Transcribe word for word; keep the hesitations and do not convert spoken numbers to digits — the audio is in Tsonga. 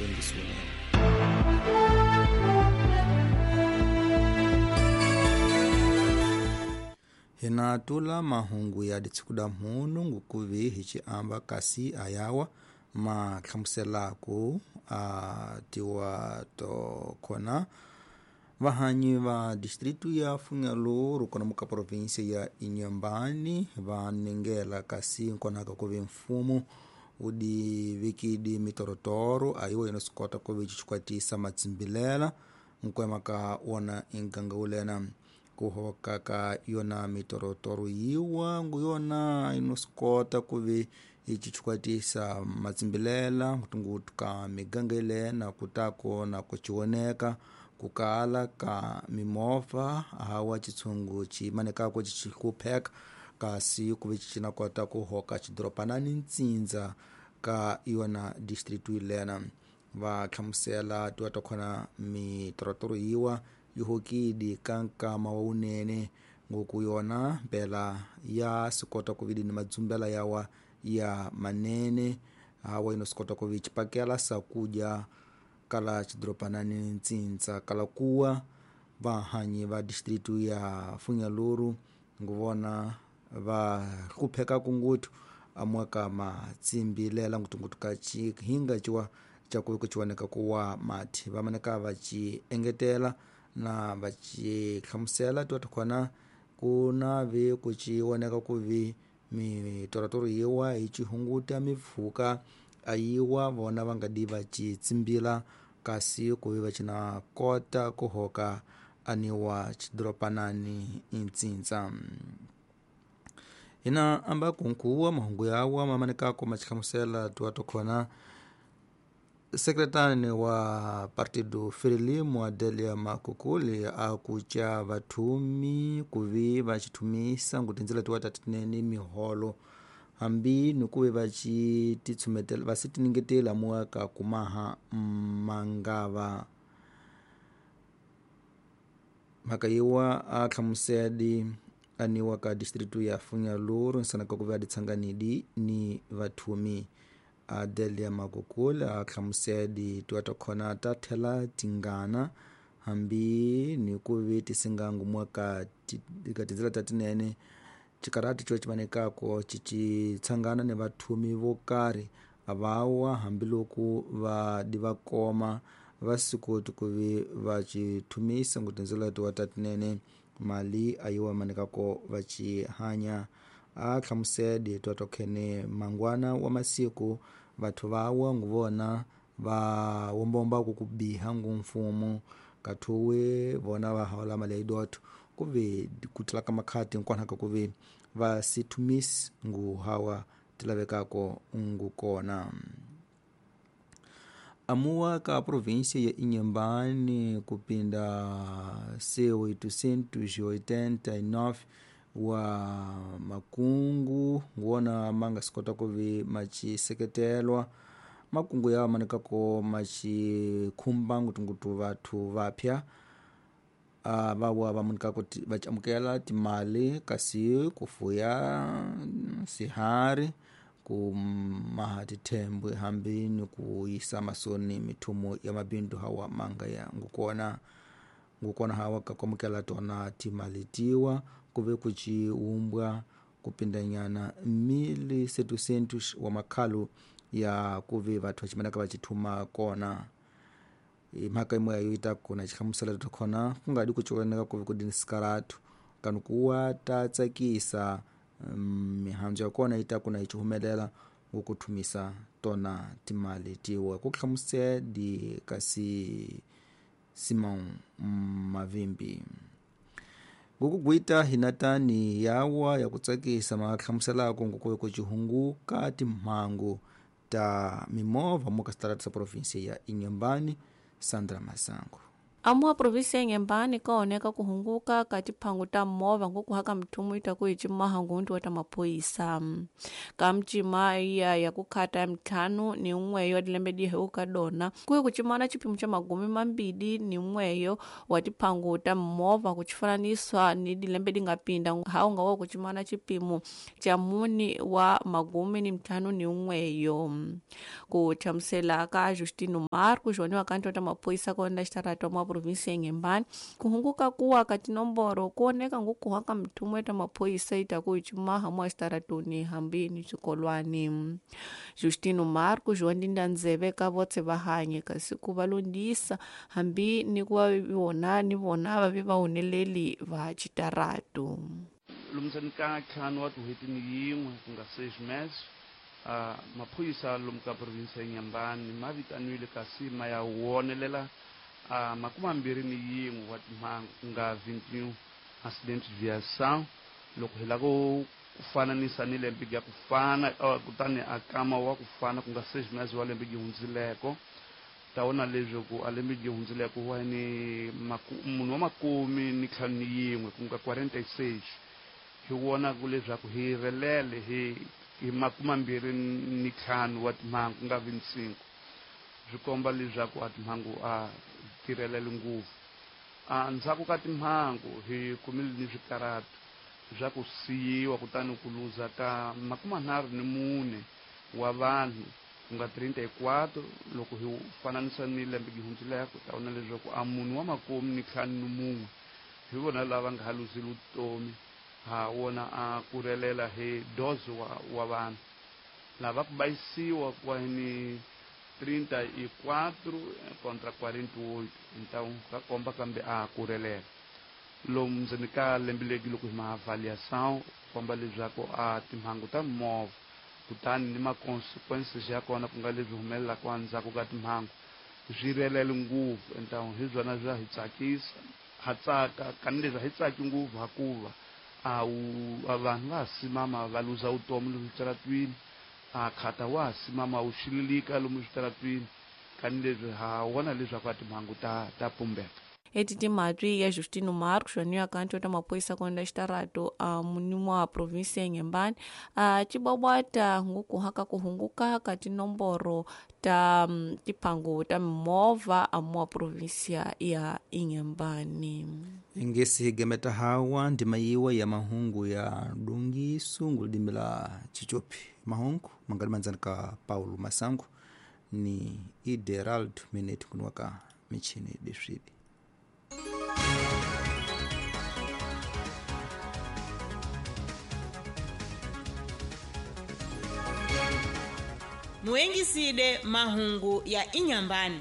Wengisune. Hina tula mahungu ya ditsikuda mhunu ngukuvi hichi amba kasi ayawa ma hlamuselaku a tiwa to kona vahanyi va distritu ya Funhalouro kona muka província ya Inhambane va nengela kasi nkonaka kuvi mfumo udi vikidi mitorotoro ayiwa yino sikota kuvi chichikwatisa matsimbilela nkwema ka wona inganga ulena kuhoka ka yona mitorotoro yiwa nguyona inosikota kuvi ichichikwatisa matsimbilela ngutungutu ka miganga ilena kutako na kuchioneka kukala ka mimovha hawa chitsungu chimanekako chichikupheka kasi kuvi chichinakota kuhoka chidoropanani ntsindza ka yona distritu ilena va hlamusela tiwa takhona mitorotoro yiwa yihokidi ka nkama wa unene ngoku yona mpela ya sikota kuvidi ni madzumbela yawa ya manene hawa ino sikota kuvi chipakela sakuja kala chidoropanani ntsintsa kala kuwa vahanyi va distritu ya Funhalouro nguvona va hlupheka kungutu amwaka matsimbilela ngutungutu ka chihinga chiwa chakuvi kuchiwoneka kuwa mati vamaneka vachi engetela na vachi hlamusela tiwa takhona kuna vi kuchiwoneka kuvi mitorotoro yiwa hi chihunguta mipfhuka ayiwa vona va nga di va chitsimbila kasi kuvi va china kota kuhoka aniwa chidoropanani intsintsa. Hina amba kunkuwa mahungu yawa mamanekako machihlamusela tiwa takhona sekretani wa Partido Frelimo Adelia Makukuli akucha vathumi kuvi vachithumisa ngutindzela tiwa tatinene miholo hambi nikuve vachititsumetela vasitiningetela muaka kumaha mangava mhaka yiwa a hlamusedi aniwa ka distritu ya Funhalouro nsanaka kuve aditsanganidi ni vathumi. Adelia Makukula a hlamusedi tiwa takhona ta tlhela tingana hambi ni kuvi tisingangu mwaka ka tindzela ta tinene chikarati xo ximanekako chichitshangana ni vathumi vo karhi avawa hambiloko va di va koma va sikoti ku vi va chithumisa ngu tindzela tiwa ta tinene mali ayiwa manekako va chi hanya. A hlamusedi tiwa tokhene mangwana wa masiku vathu vawa nguvona va wombombaku ku biha ngu mfumo kathuwe vona va hola mali ya idotho kuve ku tlula ka makhati nkonaka kuve va sithumisi ngu hawa tilavekako ngu kona. Amuwa ka província ya Inhambane kupinda C oitocentos e oitenta e nove wa makungu nguona manga sikota kuvi machiseketelwa makungu yawa manekako machikhumba ngutungutu vathu vapya uh, vawa vamunikako vachamukela timali kasi kufuya sihari kumaha tithembwe hambi ni kuyisa masoni mithumo ya mabindu hawa manga ya ngukona ngukona hawa kakwamukela tona timali tiwa kuve kuchiumbwa kupindanyana mil setecentos wa makhalu ya kuve vathu vachimanaka vachithuma kona. Mhaka imwe yayo ita kuna chihlamusela takhona kungadi kuchioneka kuve kudini sikaratu kanu kuwa ta tsakisa mihandzu ya kona ita kuna ichihumelela ngukuthumisa tona timali tiwa ku hlamusedi kasi Simon Mavimbi. Ngukugwita hinatani yawa ya kutsakisa mahlamuselako ngukuve kuchihunguka timhangu ta mimovha muka sitarata sa província ya Inhambane. Sandra Masango. Amuwa provinsi ya Inhambane kaoneka kuhunguka ka tiphangu ta movha ngokuhaka mithumu itaku hi cimaha ngundu wa ta maphorisa ka micima iya ya kukhata ya mintlhanu ni n'weyo wa tilembe dihewu ka dona kuye ku cimana xiphemu xa magumi mambili ni n'weyo wa tiphangu ta movha ku xifananisiwa ni dilembe di nga pinda ha unga wa ku cimana xipimo xa muni wa magumi ni mintlhanu ni n'weyo. Ku hlamusela ka Justino Marcos woniwa ka nto ta maphorisa kona xitarata mwa provinsi ya Inhambane kuhunguka kuwa ka tinomboro kuoneka ngokuhwa ka mithumu ya ta maphorisa itaku hi cimaha mwa xitaratuni hambi ni swikolwani. Justino Marcos wa ndinda ndzeve ka votse va hanye kasi ku va londisa hambi ni ku va vona ni vona va vi vahuneleli va xitaratu. Lomusani ka ntlhanu wa tin'hweti ni yin'we ku nga seis meses uh, maphorisa lomu ka provinsi ya Inhambane ma vitaniwile kasi ma ya wonelela uh, makume mambirhi ni yin'we wa timhangu ku nga vingt-et-un accident de viação loko hi lava ku fananisa ni lembe ya ku fana uh, kutani a kama wa ku fana ku nga seis meses wa lembe yi hundzileko ta vona leswaku a lembe yi hundzileko wa ni munhu wa makume ni ntlhanu ni yin'we ku nga quarante-seis hi vona ku leswaku hi relele hi hi makume mambirhi ni ntlhanu wa timhangu ku nga vingt-cinq swi komba leswaku a timhangu a tirhelele ngopfu. A ndzhaku ka timhangu hi kumile ni swikaratu swa ku siyiwa kutani ku luza ka makume nharhu ni mune wa vanhu ku nga treinta e quatro loko hi fananisa ni lembe yi hundzileko ta vona leswaku a munhu wa makume ni ntlhanu ni mun'we hi vona lava nga ha luzile vutomi ha wona a ku relela hi doze wa, wa vanhu lava ku bayisiwa kwa ni trinta e quatro contra quarenta e oito então ka komba kambe a ku relela lomu ndzeni ka lembe legi loko hi ma avaliação komba leswaku a timhangu ta movha kutani ni ma-consequences ya kona ku nga leswi humelelaka endzhaku ka timhangu swi relele ngopfu então hi byona bya hi tsakisa ha tsaka kanileswi a hi tsaki ngopfu hakuva a wu vanhu va ha simama va luza vutomi lomu switaratwini a khata wa ha simama wu xililika lomu switaratwini kanileswi ha vona leswaku a timhangu ta ta pumbeka. Eti timatwi ya Justino Marcos waniwa kanto ta maphorisa konda xitaratu a munimu wa provinsi ya Inhambane a cibwabwata ngukuhaka kuhunguka ka tinomboro ta tiphangu ta mimovha amuwa provinsia ya Inhambane. Ingesi higemeta hawa ndima yiwa ya mahungu ya dungisu ngulidimi la chichopi mahungu mangali manzani ka Paulo Masango ni Iderald Mineti kunuwaka michini diswidi. Muengiside mahungu ya Inhambane.